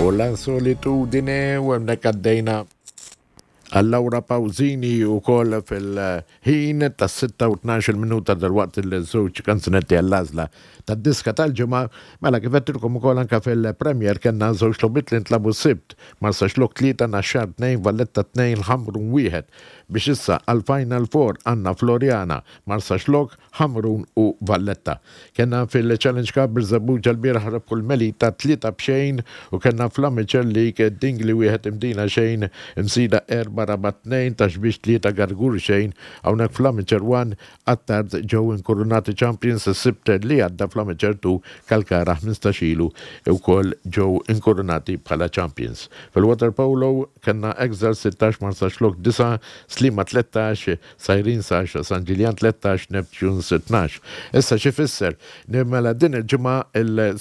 U la solitudine u hemmhekk għaddejna għal Laura Pausini wkoll fil-ħin tas-6 u 12 minuta dalwaqt il-żewġ kanzunetti għall-għażla tad-diska tal-ġimgħa. Mela kif għedtilkom ukoll anke fil-Premier kellna żewġ logħbiet li ntlagħbu s-Sibt, Marsaxlokk 3, Naxxar 2, Valletta 2, Ħamrun 1. Biex issa għall-Final Four għandna Floriana, Marsaxlokk, Ħamrun u Valletta. Kellna fil-Challenge Cup Birżebbuġa lbieraħ rebħu l-Melita 3 b'xejn u kellna fl-Amateur League Dingli wieħed Imdina xejn, Imsida 4 Rabat 2, Ta' Xbiex 3 Gargur xejn. Hawnhekk fl-Amateur 1 Attard ġew inkurunati champions is-Sibt li għadda fl-Amateur 2 Kalkara 15 ilu wkoll ġew inkurunati bħala champions. Fil-Waterpolo kellna Exiles 16 Marsaxlokk 9, Sliema 13, Sajrin sa 10, San Ġiljan 13, Neptunes 12. Issa x'ifisser? Mela din il-ġimgħa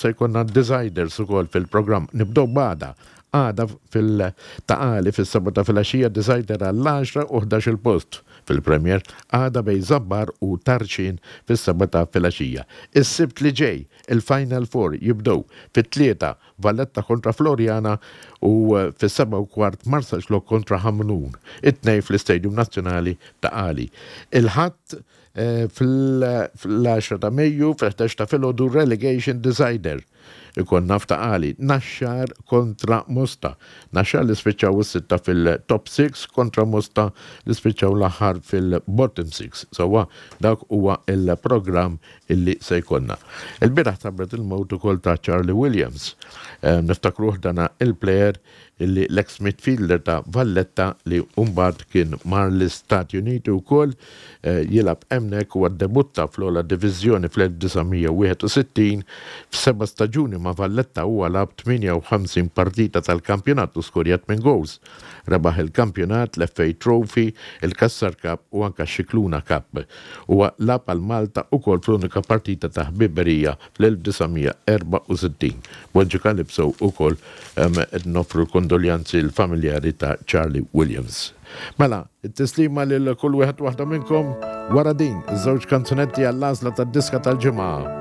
se jkollna deciders ukoll fil-programm. Nibdew b'għada. Għada fil-Ta' Qali fis-sebgħa ta' filgħaxija decider għall-għaxra u 11-il post fil-Premier. Għada bejn Żabbar u Tarxien fis-sebgħa ta' filgħaxija. Is-Sibt li ġej il-Final Four jibdew fit-tlieta Valletta kontra Floriana u fis-7:15 Marsaxlokk kontra Ħamrun, it-tnejn fl-Istadium Nazzjonali ta' Qali. Il-Ħadd fl-10 ta' Mejju fil-11 ta' filgħodu Relegation Decider ikollna f'Ta' Qali, Naxxar kontra Mosta. Naxxar li spiċċaw is-sitta fil-top 6 kontra Mosta li spiċċaw l-aħħar fil-bottom 6. Sewwa dak huwa l-programm illi se jkollna. Il-bieraħ tħabbret il-mewt ukoll ta' Charlie Williams. Niftakruh dana il-plejer illi l-ex midfielder ta' Valletta li mbagħad kien mar l-Istati Uniti wkoll jilgħab hemmhekk huwa ddebutta fl-ogħla diviżjoni fl-1961. F'seba' staġuni ma' Valletta huwa lagħab 58 partita tal-kampjonat u skorja tmien gowls. Rebaħ il-kampjonat, l-FA Trophy, il-Cassar Cup u anke x-Scicluna Cup. Huwa lagħab għal Malta ukoll fl-unika partita ta' ħbiberija fl-1964. Bonġu Calypso ukoll qed noffru l-kondoljanzi l-familjari ta' Charlie Williams. Mela, it-tislima lil kull wieħed waħda minnkom wara din iż-żewġ kanzunetti għall-għażla tad-diska tal-ġimgħa.